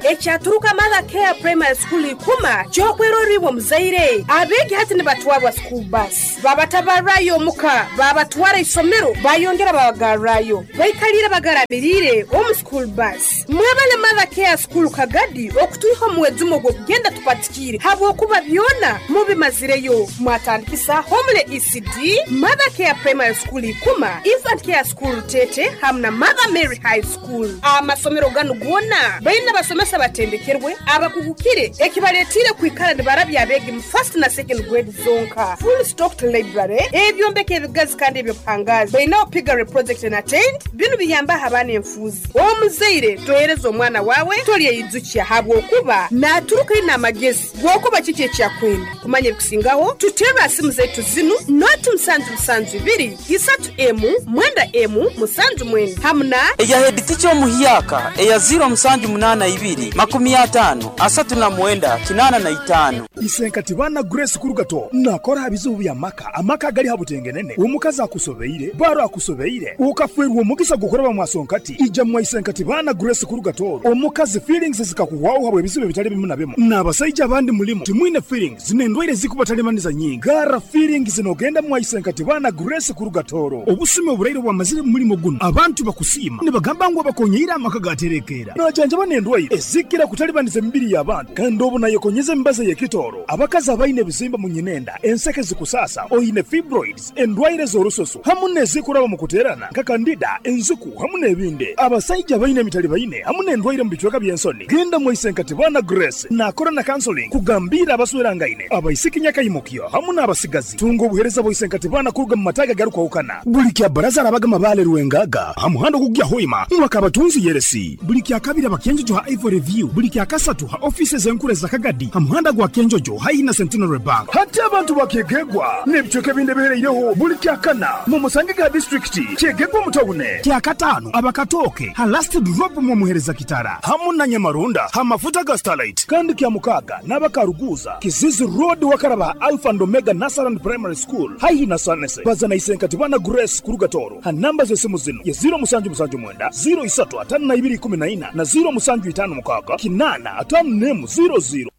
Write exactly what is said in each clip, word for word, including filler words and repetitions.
Ekyaturuka Mother Care Primary School ikuma kyokweroribwa muzaire abeegi hati nibatwarwa school bus, babatabarayo omuka, babatwara isomero, bayongera babagarrayo, baikalire bagaramiriire omu school bus. Mwebale Mother Care School Kagadi okutwiha omuwezumo gw'okugenda tupatikiire habwokuba byona mubimazireyo. Mwatandikisa Homely E C D, Mother Care Primary School Ikuma, Infant Care School Tete hamu na Mother Mary High School. Amasomero ganu gona baina basomesa batendekerwe abakugukire, ekibaletire kwikara nibarabya abeegi mu first na second grade zonka. Full stocked library, ebyombeko ebigazi kandi ebyobuhangazi, bainaho piggery project na tent. Binu biyambaho abaana enfuuzi. Omuzaire tohereza omwana wawe, tolyeyijukya habwokuba naturuka ina amagezi gwokuba kiki ekyakwenda kumanya. Ebikusingaho tuterra simu zaitu zinu: noti musanju musanju ibiri isatu emu mwenda emu musanju mwenda hamu na eya head teacher omuhyaka eya ziro musanju munana ibiri makumi atano asatu na mwenda kinana na itano. Isenkati bana Grace Kurugato nakora bizibu bya maka, amaka gali habutengenene, omukazi akusobeire, baro akusobeire, ukafwerwa omugisa gukoreba mwasonkati, ija mwa Isenkati bana Grace Kurugato. Omukazi feelings zikakuwawo habwe ebizibu bitali bimu na bimu, n'abasajja abandi mulimu timwine feelings, n'endwaire zikubatalimaniza nyingi. Gara feelings nogenda mwa Isenkati bana Grace Kurugatoro. Obusumi oburaire bwamazire mu mulimo guno, abantu bakusiima nibagamba ngu abakonyeire amaka gaterekeera. Najanjaba n'endwaire ezikira kutalibaniza emibiri y'abantu, kandi obu nayekonyeza emibazi y'ekitooro. Abakazi abaine ebizimba mu nyinenda, enseke zikusasa, oine fibroids, endwaire z'orususu hamu n'ezikuraba mu kuteerana nka candida, enziku hamu n'ebindi. Abasajja baine emitali baine hamu n'endwaire mu bicweka by'ensoni, genda mwa Isenkati bana Grace. Nakora na counseling kugambira abaswerangaine, abaisiki nyakaimukyo hamu n'abasigazi. Tunga obuhereza bwa Isenkati bana kuruga mu mataga garukwahukana. Buli kya baraza arabaga Mabale Rwengaga ha muhanda ogugya Hoima mwaka abatunzi yeresi. Buli kya kabiri Abakenjojo ha Ivory View. Buli kya kasatu ha ofisi zenkure za Kagadi ha muhanda gwa Kenjojo haihi na Centenary Bank. Hati abantu bakyegegwa n'ebicweka ebindi ebihereireho, buli kya kana mu musange ga disitulikiti Kyegegwa mutawune. Kya katano Abakatooke ha Last Drop mu muhereza kitara hamu na Nyamarunda ha mafuta ga Starlight. Kandi kya mukaaga n'Abakaruguza Kizizi Road wakaraba ha Alpha and Omega Nursery Primary School haihi na Sanese. Bazana Isenkati bana Grace Kurugatoro ha namba z'esimu zino ye ziro musanju musanju mwenda ziro isatu atano na ibiri ikumi na ina na ziro musanju itano mukaaga kinana atano nemu ziro ziro.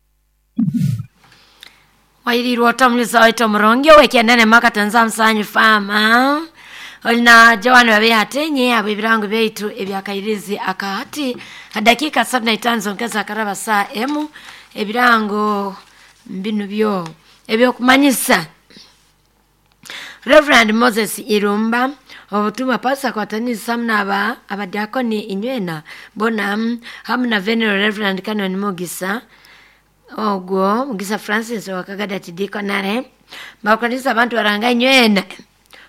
Wairirwa otamuliza waita omurongi owekyendene makatanza musanyu fama olina Joan babe atenye abo ebirango byaitu ebyakairizi akahati dakika sabini na itano zonkeza akaraba saa emu. Ebirango mbinu byo ebyokumanyisa: Reverend Moses Irumba obutumwa pasa kwatanisa hamwe abadiakoni inywena bona hamu na Venerable Reverend Canon Mugisa, ogwo Mugisa Francis wakagada tidikonare, bakanisa abantu baranga inywena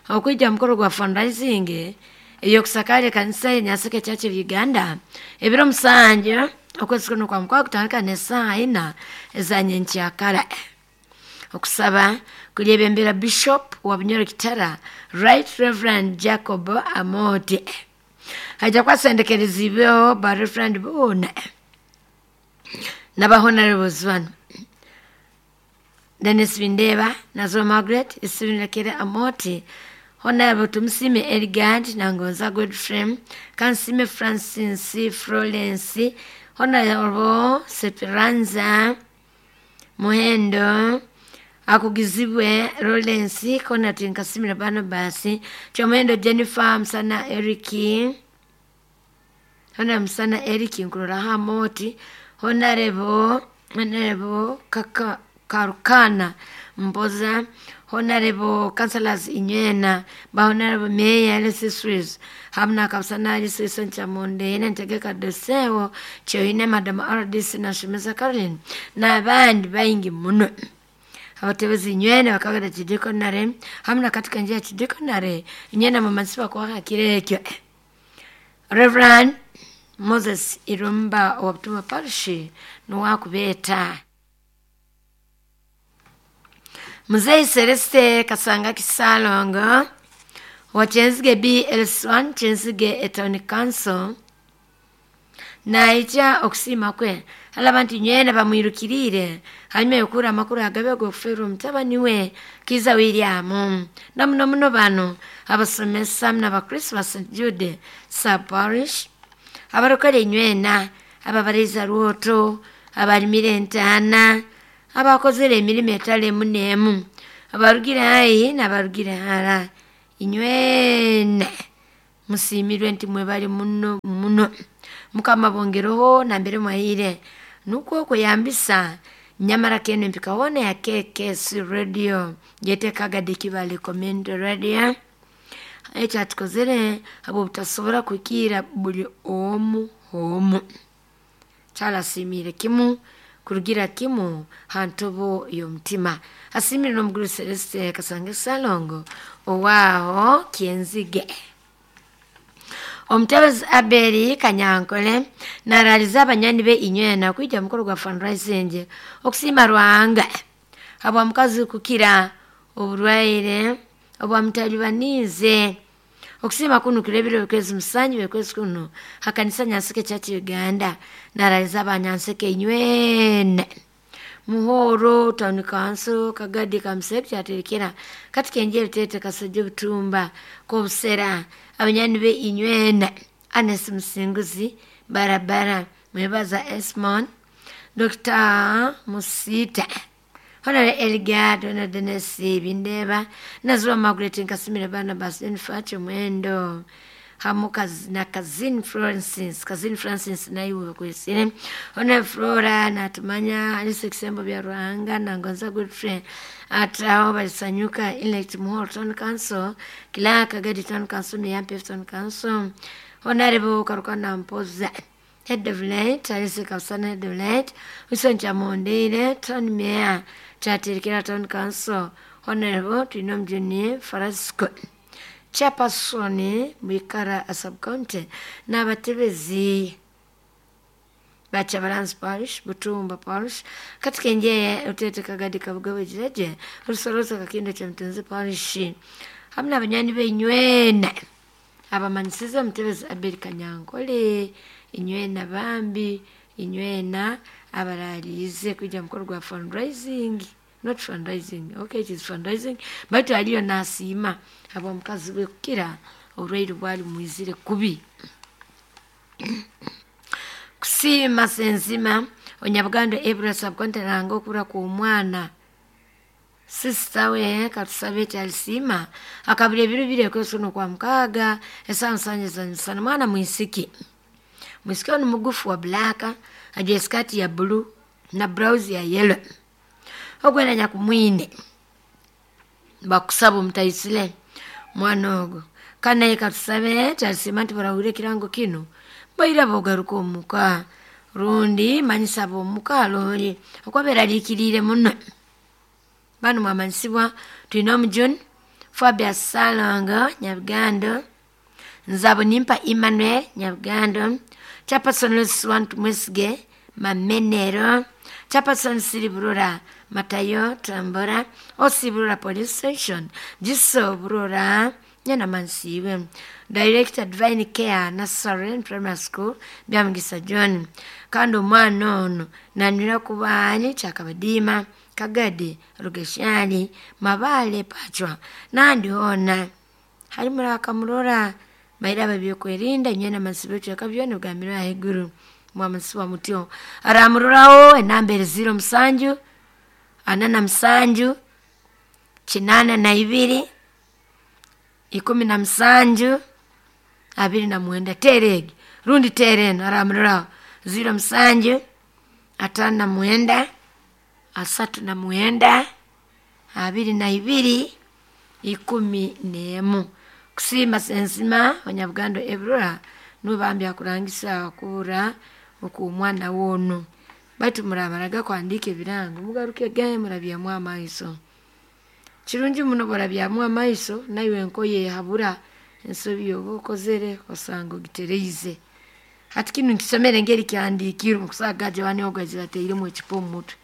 okwija mukoro gwa fundraising eyokusakara ekanisa ye Nyaseke Church of Uganda ebiro musanju okwezi kuno kwa mukwa kutandika nesaa ina ezanyenkyakara. Okusaba kulyebembera Bishop wa Bunyoro Kitara, Right Reverend Jacob Amoti. Haja kwasendekerezibweho ba Reverend bona n'abahonorables bano: Dennis Bindeba, Nazo Margaret Isibinekere Amoti, Honorable Tumusime Eligard Nangonza Godfrey, Kansime Francis Florence, Honorable Seperanza Muhendo, Akugizibwe Lawrence, Conrad Nkasimira Barnabas, Chomuhendo Jennifer Msana Eriki, Honorable Msana Eriki Nkurora Amoti, Honorable Honorable Kaka Karukana Mboza, Honorable Councillors inywena ba Honorable Mayor L C threes hamna kapsana L C Chamonde nentegeka dosewo Kyoine Madam R D C na Shemeza Caroline n'abandi baingi muno. Abatebezi inywene bakagada kidikonare hamna katika njia ya kidikonare inywena mumansiba kwa kirekyo. Reverend Moses Irumba wa Butuma Parish nuwakubeta. Mzee Celeste Kasanga Kisalongo wa Kyenzige B L one Kyenzige Town Council naija okusiima kwe alaba nti nywena bamwirukirire hanyuma yokura amakuru agabe g'okuferwa omutabani we Kiza William. Namuno muno bano abasomesa n'abakristo ba Saint Jude sub parish, abarokore inywena. Ababaraiza rwoto, abalimire entaana, abakozere emirimu etali emu n'emu, abarugire haihi n'abarugire hara, inywena musiimirwe nti mwebale muno muno. Mukama bongereho nambere mwahire nukwo okweyambisa nyamara keno empika hoona ya K K C Radio yetekaga Kibale Community Radio. Ekyatukozere habw'obutasobora kuhikiira buli omu omu. Kyalasiimiire kimu kurugira kimu ha ntobo y'omutima. Asiimire n'omuguru Celeste Kasange Ssalongo owaaho Kyenzige. Omutebezi Abeli Kanyankole naraliza abanywani be inywena kwija mukoro gwa fundraising okusiima Ruhanga habwa mukazi kukira oburwaire obwamutalibaniize. Okusiima kuno kurebire okwezi musanju okwezi kuno hakanisa Nyanseke Church Uganda. Naraliza abanyanseke inywena Muhoro Town Council Kagadi Kamsek kyaterekera kati kenjeri tete Kasajja Butumba Kobusera abanyani be inywena Anes Musinguzi Barabara Mwebaza Esmon Doctor Musita Honorable Elgad Honorable Dennis Bindeba Nazwa Margaret Nkasimire Barnabas Jennifer Mwendo hamu na Kazin Francis Kazin Francis naiwe kwesire Honorable Flora natumanya Alice Kisembo bya Ruhanga na Ngonza Godfrey ataho balisanyuka elect Muhoro Town Council Kila Kagadi Town Council ni Yampe Town Council Honorable Karukana Mpoza Head of Light Alice Kapsana Head of Light Wilson Chamondere Town Mayor Chatirikira Town Council Honorable Twinom Junior Farasco Chairperson Mwikara Sub-County n'abatebezi ba Kyabalanzi Parish, Butumba Parish, katika enjeye Utete Kagadi Kabugabe Jireje, Rusoroza Kakindo Kyamutenzi Parish, hamu n'abanywanyi be inywena abamanyisize omutebezi Abeli Kanyankole inywena bambi inywena abaraliize kwija mukoro gwa fundraising. Not fundraising, okay, it is fundraising, baitu aliyo nasiima habwa mukazi we kukira oburwaire bwali mwizire kubi. Kusiima senzima Onyabugando Ebura Sub-County nanga okubura kw'omwana sisita we katusabe kyalisiima akabura ebiro bibiri ekwezi kuno kwa mukaaga esaawa musanju ez'emisana. Mwana mwisiki mwisiki onu mugufu wa black, ajwaire sikaati ya blue na blouse ya yellow. Ogwena nyakumwine bakusaba omutaisire mwana ogwo kandi naye katusabe kyalisiima nti barahurire ekirango kinu baira bogaruka omuka rundi manyisa ab'omuka loori okuba beraliikiriire muno. Banu mwamanyisibwa twine omujuni Fabius Ssalongo Nyabugando, Nzabo Nimpa Emmanuel Nyabugando, Chairperson Lucy Tumwesige Mamenero, Chairperson Siriburura Matayo Tambora, Osiburura Police Station, Jiso Burura Nyana Mansiwe, Director Divine Care Nursery and Primary School Byamugisa John. Kandi omwana ono nanywera kubaani Kyakabadiima Kagadi Rugeshani Mabale Pachwa nandi hoona hali murakamurora baira babyokwerinda inywena mansibe kyaka byona bigambirwe ahaiguru mwamansiwa mutyo aramuroraho enamba eri ziro musanju ana na musanju kinaana na ibiri ikumi na musanju abiri na mwenda teera egi rundi teera eno aramuroraho ziro musanju ataano na mwenda asatu na mwenda abiri na ibiri ikumi n'emu. Kusiima senzima Onyabugando Eburora nuwe bambi akurangisa okubura okw'omwana woonu. Baitu muramaraga kuhandiika ebirango mugaruke gahe murabyamu amaiso. Kirungi muno bworabyamu amaiso naiwe nkoyehabura ensobi yoba okozere osanga ogitereize. Hati kinu nkisomere engeri kyahandiikirwe nkusanga Joan ogu aizire atairemu ekipa omu mutwe.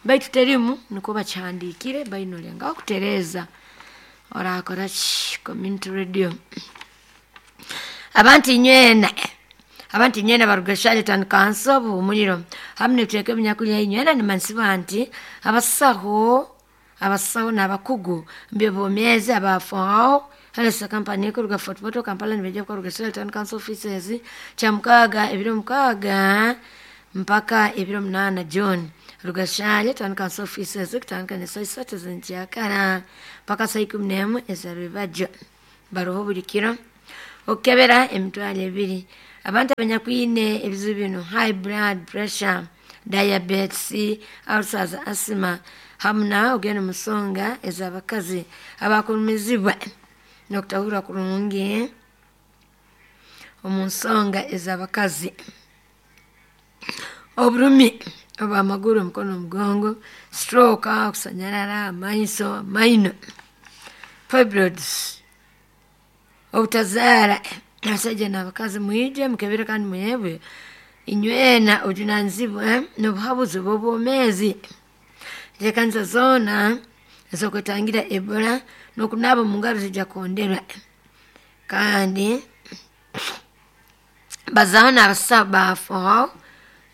Baitu terimu nikwo bakihandiikire baine olengaho kutereeza orakora ki Community Radio. Abantu inywena abantu inywena baruga Charlton Council Buhumuriro hamu n'ebicweka ebinyakulya inywena nimanyisibwa nti abasaho abasaho n'abakugu mu by'obwomeezi abafaho Health Company kuruga Fort Portal Kampala nibaija kuruga Charlton Council offices Kyamukaaga ebiro mukaaga mpaka ebiro munana June. Rugashale town council offices kutandika ne saa isatu z'enkyakara mpaka saa ikumi n'emu ez'arubajo. Baroho buli kiro okukebera emitwalo ebiri. Abantu abanyakwine ebizibu bino high blood pressure, diabetes, ulcers, asthma hamu na ogenda mu nsonga ez'abakazi abakulumizibwa n'okutahurra kurungi omu nsonga ez'abakazi, oburumi obw'amaguru, omukono, omugongo, stroke, okusanyarara, amaiso, amaino, fibroids, obutazaara. Abasaija n'abakazi mwije mukebere kandi muhebwe inywena obujunanizibwa n'obuhabuzi bw'obwomeezi. Enteekaniza zoona ez'okwetangira Ebola n'okunaaba omu ngaro zijja kuhonderwa. Kandi bazaaho n'abasaho ba F O H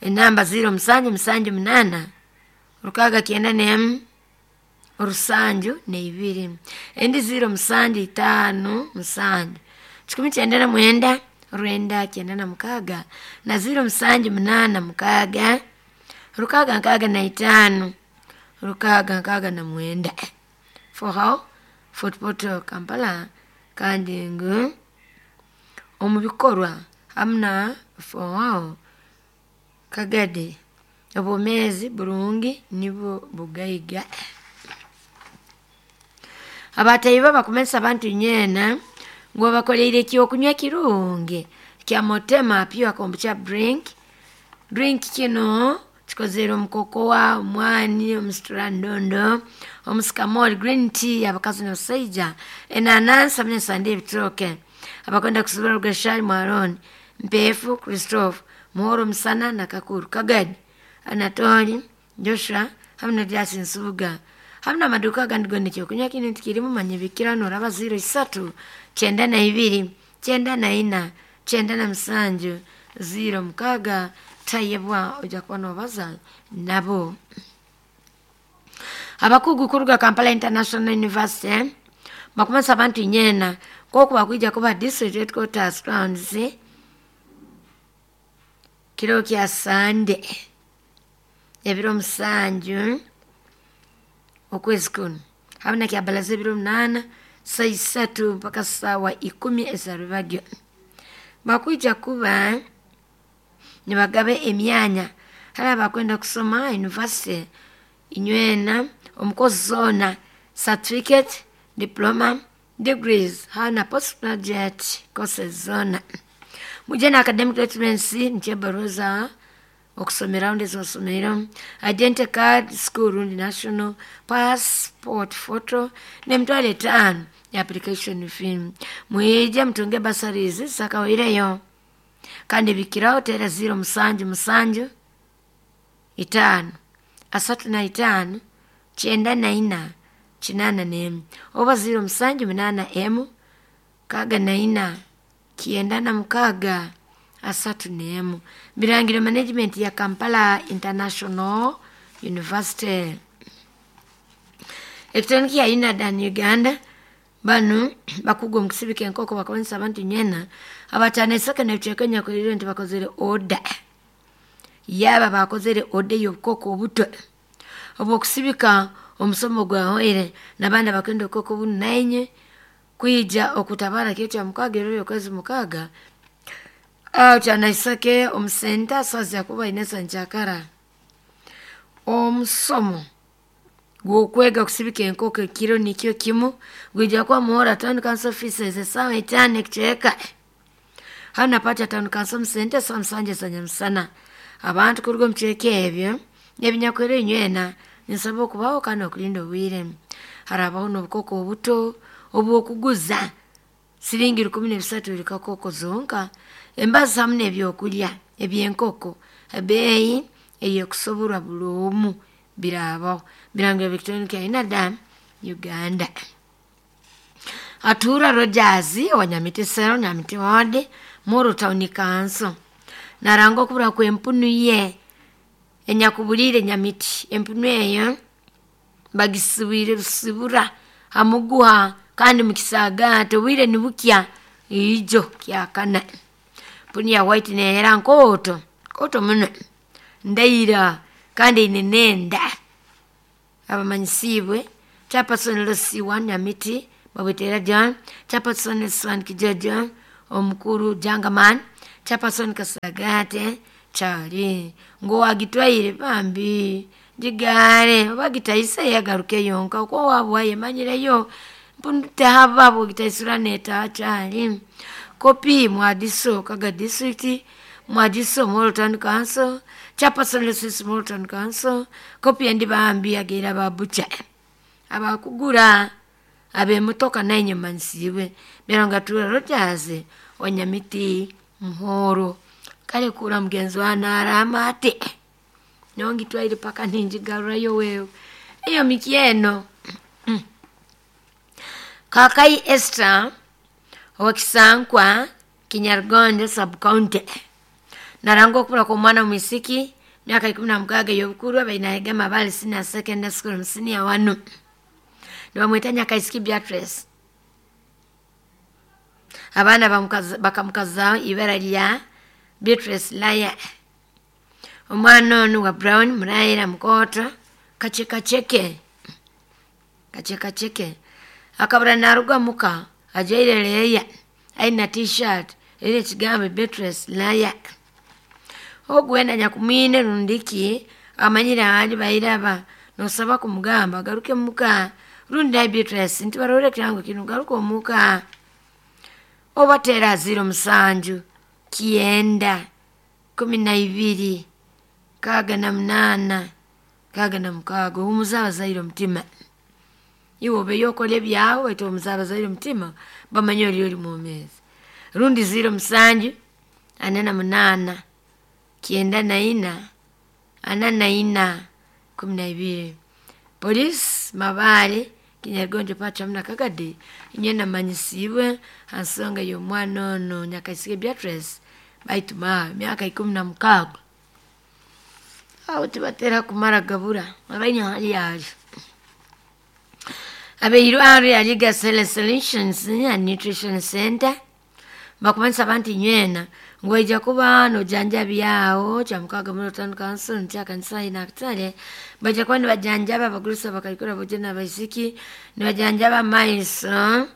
enamba ziro musanju musanju munaana rukaaga kyenda n'emu orusanju n'ibiri, endi ziro musanju itaano musanju kikumi kyenda na mwenda rwenda kyenda na mukaaga na ziro musanju munaana mukaaga rukaaga nkaaga na itaano rukaaga nkaaga na mwenda. F O H Fort Portal Kampala. Kandi ngu omu bikorwa hamu na F O H Kagadi, obwomeezi burungi nibwo bugaiga. Abatayi bakumanyisa abantu nyeena ngu babakoleire ekyokunywa kirungi kya Motema Pure Kombucha drink. Drink kino kikozere omu cocoa, omwani, omusitrandondo, omusikamoli, green tea abakazi n'abasaija, enanansi hamu n'esande ebitooke. Abakwenda kusubura Rugashali Mwaroni, Mpeefu Christophe, Muhoro Musana na Kakuru Kagadi, Anatoli Joshua hamu na Jasi Nsubuga hamu n'amaduka agandi gonna ekyokunywa kinu ntikirimu. Manya bikira noraba ziro isatu kyenda na ibiri kyenda na ina kyenda na musanju ziro mukaaga. Tayebwa ojja kuba nobaza nabo. Abakugu kuruga Kampala International University bakumanyisa abantu nyeena nk'oku bakwija kuba district headquarters grounds kiro kya Sande ebiro musanju okwezi kuno hamu na kyabalaza ebiro munaana saa isatu mpaka saawa ikumi ez'arubagyo. Bakwija kuba nibagaba emyanya hali abakwenda kusoma university inywena omu course zoona, certificate, diploma, degrees hamu na postgraduate courses zoona. Muje na academic documents, nikyo ebaruha za okusomeraho rundi ez'osomeireho, identity card school rundi national passport photo n'emitwaro etaano ya application fee. Mwije mutunge bursaries zisakawaireyo. Kandi bikiraho teera ziro musanju musanju itaano asatu na itaano kyenda na ina kinaana n'emu oba ziro musanju munaana emu kaaga na ina kyenda na mukaaga asatu n'emu. Birangiro management ya Kampala International University. Ekitongole kya UNADAN Uganda, banu bakugu omu kusibika enkoko, bakumanyisa abantu nyeena abatano esaka n'ebicweka enyakulire nti bakozere order yaaba bakozere order y'obukoko obuto obw'okusibika omusomo gwahoire n'abandi abakwenda obukoko bunu nainye kwija okutabara kiro kya mukaaga ebiro by'okwezi mukaaga aho kyanaisake omu center saza kuba inesa nkyakara. Omusomo gw'okwega kusibika enkoko ekiro nikyo kimu gwija kuba Muhora Town Council offices esaawa etaano ekicweka hanu na Pacha Town Council omu center esaawa musanju ezanyamusana. Abantu kuruga omu bicweka ebyo ebinyakwera inywena ninsaba okubaho kandi okulinda obwire. Harabaho n'obukoko obuto obw'okuguza siringi rukumi n'ebisatu buli kakoko zonka, embazi hamu n'ebyokulya eby'enkoko ebeeyi ey'ekusoborwa buli omu biraabaho. Birangiro Electronic ya UNADA Uganda. Atura Rogers wa Nyamiti Cell, Nyamiti Ward, Moro Town Council naranga okubura kw'empunu ye enyakubuliire Nyamiti. Empunu eyo bagisibwire busibura hamuguha kandi mukisaagaate obwire nibukya ijo kyakana. Mpunu ya white neyera nkooto nkooto muno. Ndaira kandi ine nenda abamanyisibwe chairperson Lucy Wanyamiti Babwetera John, chairperson Swan Kijojo omukuru Jangaman, chairperson Kasagate Charlie ngo wagitwaire bambi jigare oba gitaise yagaruke yonka uko wabwa yemanyireyo mpundutahaba bwogitaisura neta Charlie kopi mwadiso Kaga district mwadiso Moroto Town Council, chairperson Lucy Moroto Town Council, kopi endi bambi ageira babucha abakugura abemotoka nainyuma nsiibwe byaranga tura Rogers Wanyamiti Muhoro kale kura mugenzi wa narama ate nongitwaire paka ninjigarurayo wewe eyo mikyeno. Kakai Esther owakisankwa Kinyargonde sub county naranga okubura kw'omwana mwisiki myaka ikumi na mukaaga ey'obukuru abainahega Mabale Senior Secondary School senior wanu nibamweta Nyakaisiki Beatrice. Abaana bakamukazaho ibara lya Beatrice Laya. Omwana onu wa Brown Muraira Mukoto kachekacheke kachekacheke akabura naruga muka ajaire leya aina t-shirt eri ekigambo Beatrice Laya. Ogwenda nyakumwine rundiki amanyire ahandi bairaba nosaba kumugamba agaruke muka rundi ai Beatrice nti barore kirango kino garuka omuka obatera ziro musanju kienda kumi na ibiri kaga na munana kaga na mukaga omuzaaba zaire omutima iwe obeyo okola ebyawe waitu omuzaaba zaire omutima bamanye ori ori mwomeezi rundi ziro musanju ana na munana kienda na ina ana na ina kumi na ibiri. Polisi Mabale Kinyargonjo pacha mna Kagadi inye namanyisibwe hansonga y'omwana ono Nyakaisike Beatrice baituma myaka ikumi na mukaaga aho tibatera kumara gabura abaine hali yayo abeirwaro ya Liga Solutions and Nutrition Center bakumanyisa abantu inywena ngu baija kuba nojanjabyaho kyamukaga muri Town Council nkyakanisa inakitale baija kuba nibajanjaba abagurusi abakaikuru abojo n'abaisiki nibajanjaba amaiso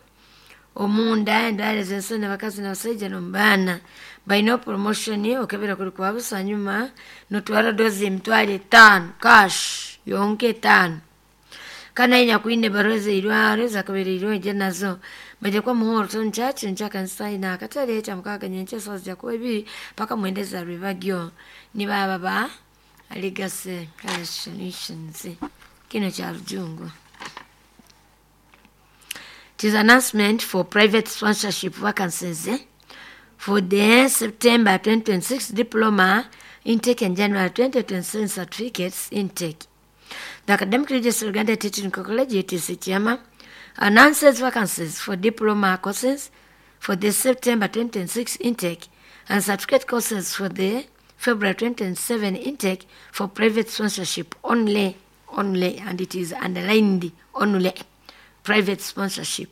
omunda endwara z'ensoni abakazi n'abasaija n'omubaana baine promotion okebera kuri kwa busa nyuma notwara dozi emitwaro etaano cash yonka etaano kana inyakwine baroze zeirwaro zakabereirwe ije nazo baje kwa Muhoro Town Church nkyakanisa inakatale kyamukaga nyenkya sawa zijakuba ibiri paka mwenda za rwebagyo nibaba ba Legacy Solutions kino kya Rujungu. It is announcement for private sponsorship vacancies eh? for the September twenty twenty-six diploma intake and January twenty twenty-seven certificates intake. The Academic Registry of Uganda Teaching College, U T C Chama, announces vacancies for diploma courses for the September twenty twenty-six intake and certificate courses for the February twenty twenty-seven intake for private sponsorship only, only, and it is underlined only, private sponsorship.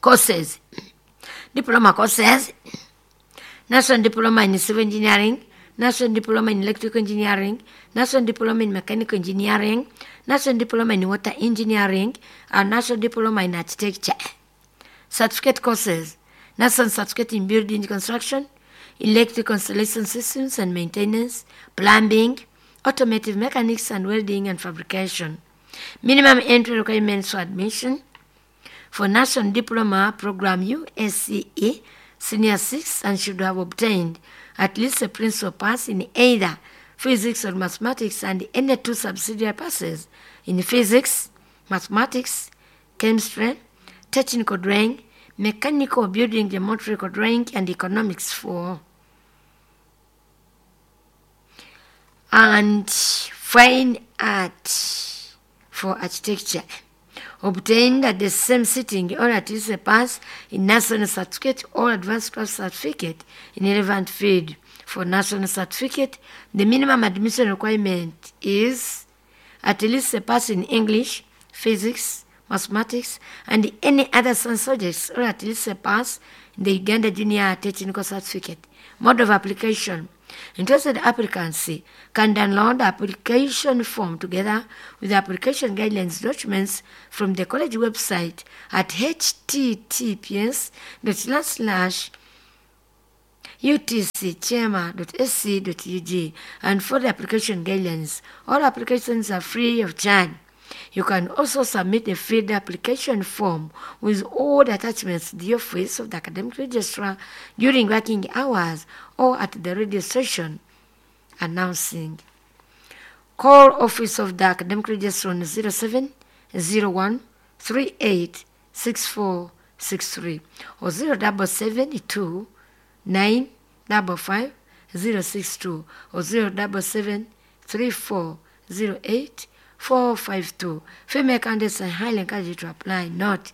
Courses, diploma courses, National Diploma in Civil Engineering, National Diploma in Electrical Engineering, National Diploma in Mechanical Engineering, National Diploma in Water Engineering, and National Diploma in Architecture. Certificate courses, National Certificate in Building Construction, Electrical Installation Systems and Maintenance, Plumbing, Automotive Mechanics and Welding and Fabrication. Minimum entry requirements for admission for National Diploma Program U S C E Senior six and should have obtained at least a principal pass in either physics or mathematics and any two subsidiary passes in physics, mathematics, chemistry, technical drawing, mechanical building, geometrical drawing, and economics four. And fine art for architecture, obtained at the same sitting or at least a pass in national certificate or advanced class certificate in relevant field. For national certificate, the minimum admission requirement is at least a pass in English, physics, mathematics, and any other science subjects, or at least a pass in the Uganda Junior Technical Certificate. Mode of application. Interested applicants can download the application form together with the application guidelines documents from the college website at https slash utcchema.sc.ug and for the application guidelines. All applications are free of charge. You can also submit a filled application form with all the attachments to the office of the academic registrar during working hours or at the radio station announcing. Call office of the academic registrar on zero seven zero one three eight six four six three or zero double seven two nine double five zero six two or zero double seven three four zero eight four five two. Female candidates are highly encouraged to apply. Note,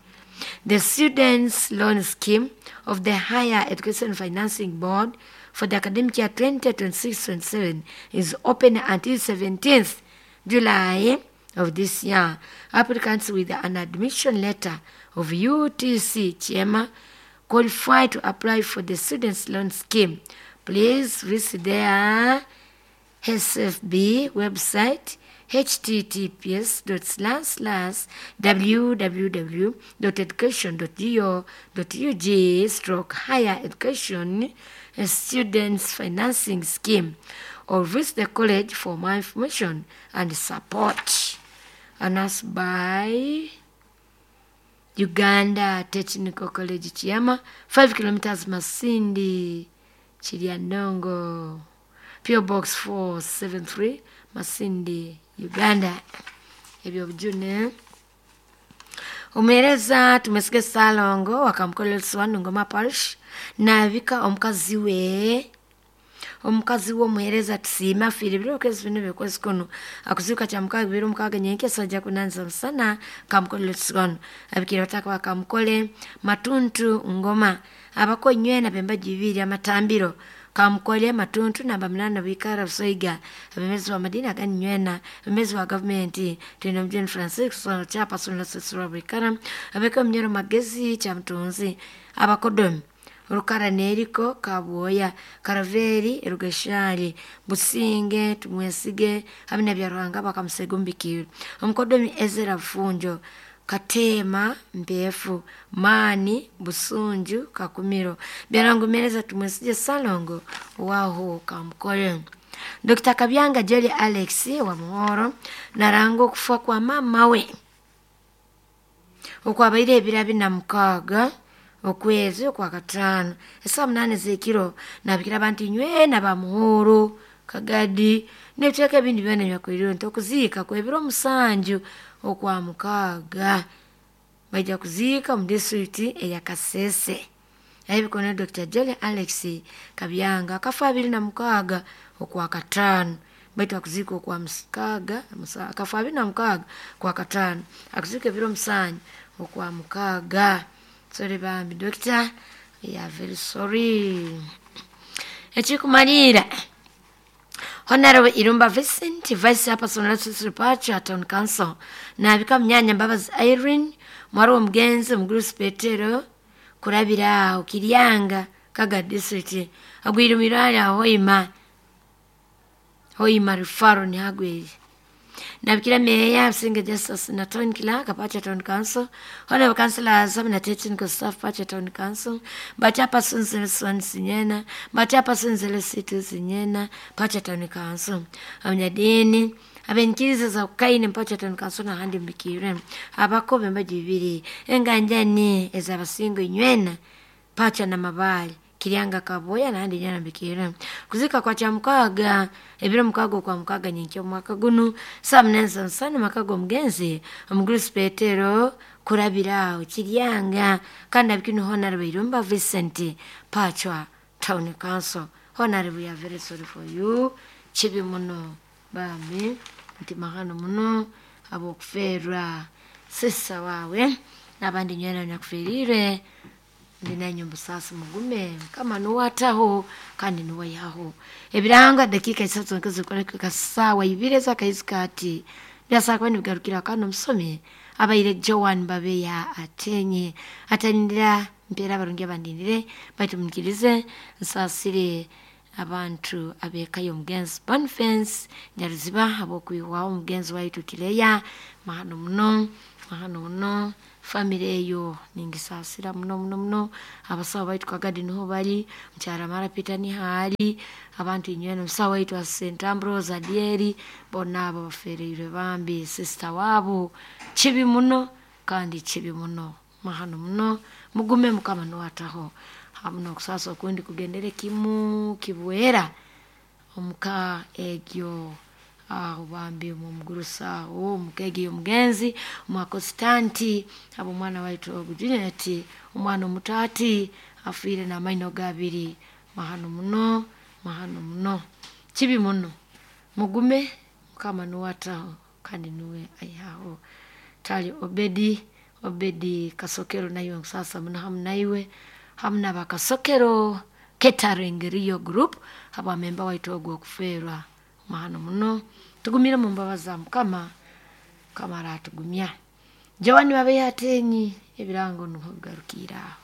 the Students' Loan Scheme of the Higher Education Financing Board for the academic year twenty twenty-six twenty-seven is open until seventeenth July of this year. Applicants with an admission letter of U T C Chema qualify to apply for the Students' Loan Scheme. Please visit their S F B website https dot slash slash www dot education dot go dot ug stroke higher education students financing scheme or visit the college for more information and support. Announced by Uganda Technical College Kiama, five kilometers Masindi, Chiliandongo, P O Box four seven three, Masindi, Uganda. Ebyo bujune. Omuheereza tumwesige Ssalongo wakamukolera Ngoma Parish naabika omukazi we omukazi w'omuheereza tusiime afiire ebiro okwezi bino byokwezi kuno akuziika kya mukaaga bibiri omukaaga nyenkya ajja kunanza musana kamukolera wano abikire bataka bakamukole Matuntu Ngoma abako nywena bemba bibiri amatambiro kamukole Matuntu namba munana bwikara busoiga abemezi wa madini agani nywena abemezi wa gavumenti tulina mjeni Francis chairperson la bwikara abeka mnyero magezi cha mtunzi abakodomi Rukara neriko Kabwoya Karaveri Rugeshali Businge Tumwesige abina bya Ruhanga bakamusegumbikira omukodomi Ezra Funjo Katema Mpefu Mani Busunju Kakumiro byarangumereza Tumwesige Salongo waho kamukole Doctor Kabyanga Jolly Alex wa Muhoro narango kufa kwa mama we okwabaire ebira bina mukaaga okwezi okwa kataano esaa munane z'ekiro nabikira abantu nywena ba Muhoro Kagadi n'ebiteeka ebindi byona byakwiriwe nti okuziika kwebiro omusanju okwa mukaaga baija kuziika mu disitulikiti eya Kasese ebikono Doctor Jolly Alex Kabyanga akafa abiri na mukaaga okwa kataano baitu akuziika okwa mukaaga akafa abiri na mukaaga kwa kataano akuziika ebiro omusanju okwa mukaaga. Sorry bambi doctor, we are very sorry. Ekikumalira Honorable Irumba Vincent, Vice Chairperson of Pacha Town Council, nabika mnyanya Mbabazi Irene, mwari omugenzi Omugurusi Petero, kurabira aho Kiryanga, Kaga District, agwire mirari aho Hoima, Hoima Rufaro ni hagwire. Nabikira Meya Msinga Justice na Town Clerk Pacha Town Council, Honorable Councillors na Technical Staff Pacha Town Council, Bachapersons Nelson Sinyena, Bachapersons Lesito Sinyena, Pacha Town Council, Abanyadini abenkiriza za kukaine Pacha Town Council na handi mbikire abakobe mbaji bibiri enganjani ezabasingo inywena Pacha na mabali Kiryanga Kaboya na handi nyana mbikire kuzika kwa cha mukaaga ebiro mukaaga kwa mukaaga nyenkya omwaka guno saa munane nsana makago omugenzi Omugurusi Petero kurabira aho Kiryanga kandi abikino Honorable Irumba Vincent Pacha Town Council. Honorable, we are very sorry for you. Kibi muno bambi nti mahano muno abokufeerwa sisa wawe n'abandi nywena nyakuferire ndi nanyu busasi mugume kama nuwataho kandi nuwayaho ebiranga dakika isatu nkizikoleka sawa ibiri ezakaizi byasaba kuba nibigarukira kano omusomi abaire Joan Babeya atenye atanindira mpeera abarungi abandindire baitu munikirize nsaasire Abantu ab'eka y'omugenzi Boniface Nyaruziba ab'okwihwaho omugenzi waitu Kireya, mahano muno, mahano muno. Famire eyo ningisaasira muno muno muno. Abasawo baitu Kagadi niho bari, mukyara Mara Peter niho ari, abantu inywena, omusawo waitu wa Saint Ambrose Adieri, bonna abo bafereirwe bambi sister waabo. Kibi muno kandi kibi muno, mahano muno. Mugume, Mukama niwataho hamu n'okusaasa okundi kugendere kimu kibwera omuka egyo aho bambi omugurusa aho omuka egyo y'omugenzi omwakositanti abo omwana waitu ogu Juliet, omwana omuto ati afiire n'amaino gabiri. Mahano muno, mahano muno, kibi muno. Mugume, Mukama niwataho kandi niwe aihaho. Tali Obedi, Obedi Kasokero, naiwe nkusaasa muno hamu naiwe hamu n'abakasokero Catering Rio Group habwamemba waitu ogwo okufeerwa. Mahano muno, tugumire mu mbabazi za Mukama, Mukama aratugumya. Joan Babeyatenyi, ebirango nuho bigarukiire aho.